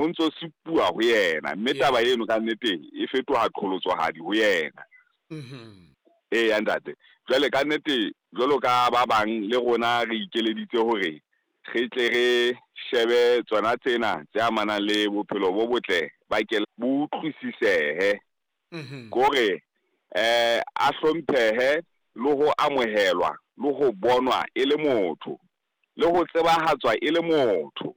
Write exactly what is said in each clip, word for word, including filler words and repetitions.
Ho ntso supuwa ho yena, mme taba eno ka nnete e fetoha qholotsohadi ho yena. Mhm. Eya ntate, jwale ka nnete jwalo ka ba bang le rona re ikeleditse hore re tle re shebe tsona tsena tse amanang le bophelo bo botle ba ke bo utlwisisehe. Mhm. Kore eh a hlomphehe le ho amohelwa le ho bonwa e le motho le ho tsebahatswa e le motho.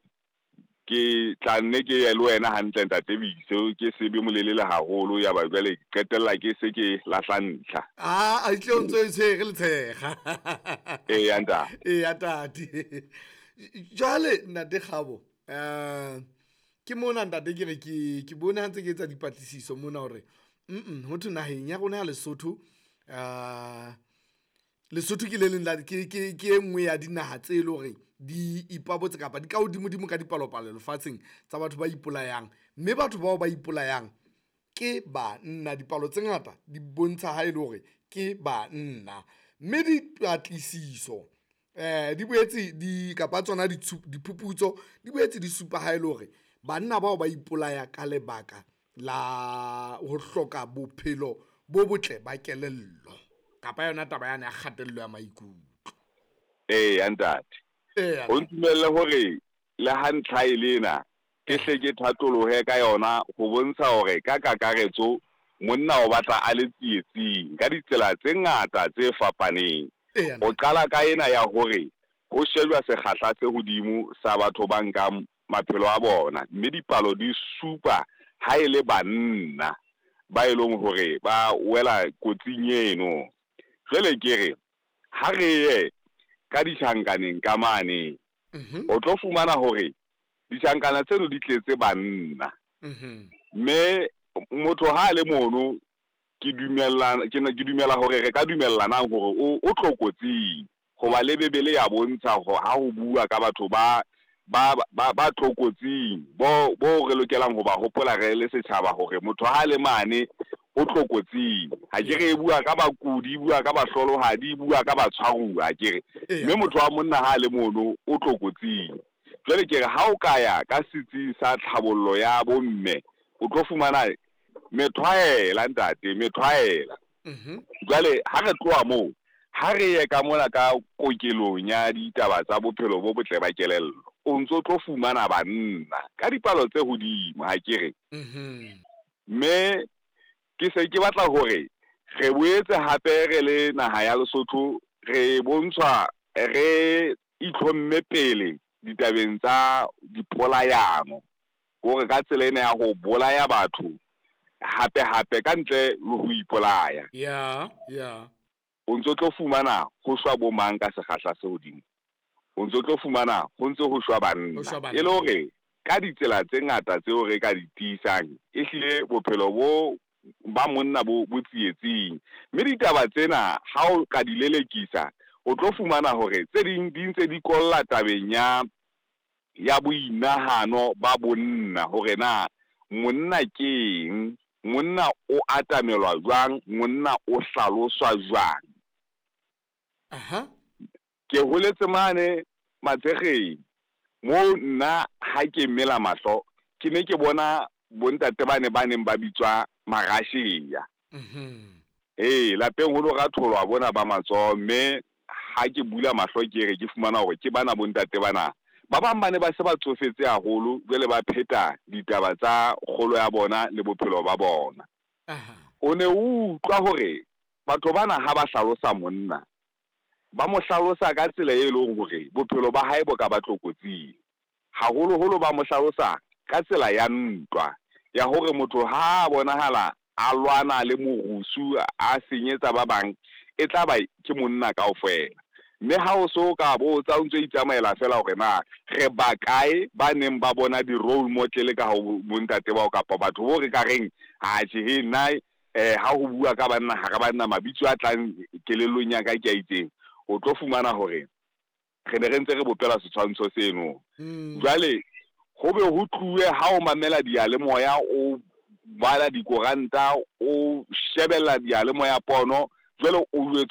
Ke tla nne ke ye le wena hantle ntate Biso, ke sebe molelele haholo ya ba jwale qetella ke se ke lahla ntlha. Ah, a itle o ntso e tshwere letshega. Eya ntate. Eya tate. Jwale ntate Kgabo, eh ke mona ntate ke re ke ke bone ha ntse ke etsa dipatlisiso mona hore mm ho thwe naheng ya rona ya Lesotho, eh Lesotho ke le leng la ke ke ke e nngwe ya dinaha tse leng hore di ipabotse kapa di ka hodimodimo ka dipalopalo lefatsheng tsa batho ba ipolayang, mme batho bao ba ipolayang ke banna. Dipalo tse ngata di bontsha ha e le hore ke banna, mme dipatlisiso eh di boetse di kapa tsona diphuputso di boetse di supa ha ele hore banna bao ba ipolaya ka lebaka la ho hloka bophelo bo botle ba kelello kapa yona taba yane ya kgatello ya maikutlo. Eya ntate. Eya. O ntumelle hore le ha ntlha e lena ke hle ke thatolohe ka yona ho bontsha hore ka kakaretso monna o batla a le tsietsing ka ditsela tse ngata tse fapaneng. Eya. O qala ka ena ya hore ho shejwa sekgahla se hodimo sa batho ba nkang maphelo a bona, mme dipalo di supa ha e le banna ba e leng hore ba wela kotsing eno. Jwale ke re ha re ye ka ditjhankaneng ka mane, Mhm. o tlo fumana hore ditjhankana tseno di tletse banna. Mhm. Mme motho ha a le mono, ke dumella, ke ne ke dumela hore re ka dumellanang hore o, o tlokotsing, hoba le Bebele ya bontsha hore ha ho bua ka batho ba, ba, ba, ba tlokotsing, bo, bo re lokelang ho ba hopola re le setjhaba hore motho ha le mane o tlokotsing. Ha ke re e bua ka bakudi, e bua ka bahlolohadi, e bua ka batshwaruwa, ha ke re. Eya. Mme motho wa monna ha le mono o tlokotsing. Jwale ke re ha o ka ya ka setsi sa tlhabollo ya bomme, o tlo fumana methwaela ntate, methwaela. Mhm. Jwale ha re tloha moo, ha re ye ka mona ka kokelong ya ditaba tsa bophelo bo botle ba kelello, o ntso tlo fumana banna ka dipalo tse hodimo, ha ke re. Mhm. Mme ke se ke batla hore re boetse hape re le naha ya Lesotho re bontshwa re itlhomme pele ditabeng tsa dipolayano, hore ka tsela ena ya ho bolaya batho hape hape ka ntle le ho ipolaya. Ya, ya. O ntso tlo fumana ho shwa bo mang ka sekgahla se hodimo, o ntso tlo fumana ho ntse ho shwa banna. Ho shwa banna. E le hore ka ditsela tse ngata tseo re ka di tiisang, ehlile bophelo bo ba monna bo, bo tsietsing. Mme ditaba tsena ha o ka di lelekisa, o tlo fumana hore tse ding di ntse di kolla tabeng ya, ya boinahano ba bonna, hore na monna ke eng, monna o atamelwa jwang, monna o hlaloswa jwang. Aha. Ke holetse mane Matshekgeng, moo nna ha ke mela mahlo, ke ne ke bona bontate ba ne ba neng ba bitswa Marasheya. Mhm. Ee, lapeng ho lo ratholwa bona ba matsoho, mme ha ke bula mahlo ke re ke fumana hore ke bana bontate bana. Ba bang ba ne ba se ba tsofetse haholo, jwale ba pheta ditaba tsa kgolo ya bona le bophelo ba bona. Aha. O ne o utlwa hore batho bana ha ba hlalosa monna, ba mo hlalosa ka tsela e leng hore bophelo ba hae bo ka ba tlokotsing. Haholoholo ba mo hlalosa ka tsela ya ntwa, ya hore motho ha a bonahala a lwana le morusu, a senyetsa ba bang, e tla ba ke monna kaofela. Mme ha o so ka botsa o ntso itsamaela fela hore na re ba kae ba neng ba bona di-role model ka ho bontate bao kapa batho bo re ka reng, ha tjhe, he, nna, eh, ha ho bua ka banna, hara banna mabitso a tlang kelellong ya ka ke a itseng, o tlo fumana hore re ne re ntse re bopela setshwantsho seno. Mm. Jwale ho be ho tluwe ha o mamela diyalemoya, o bala dikoranta, o shebella diyalemoya pono, jwale o jwetswa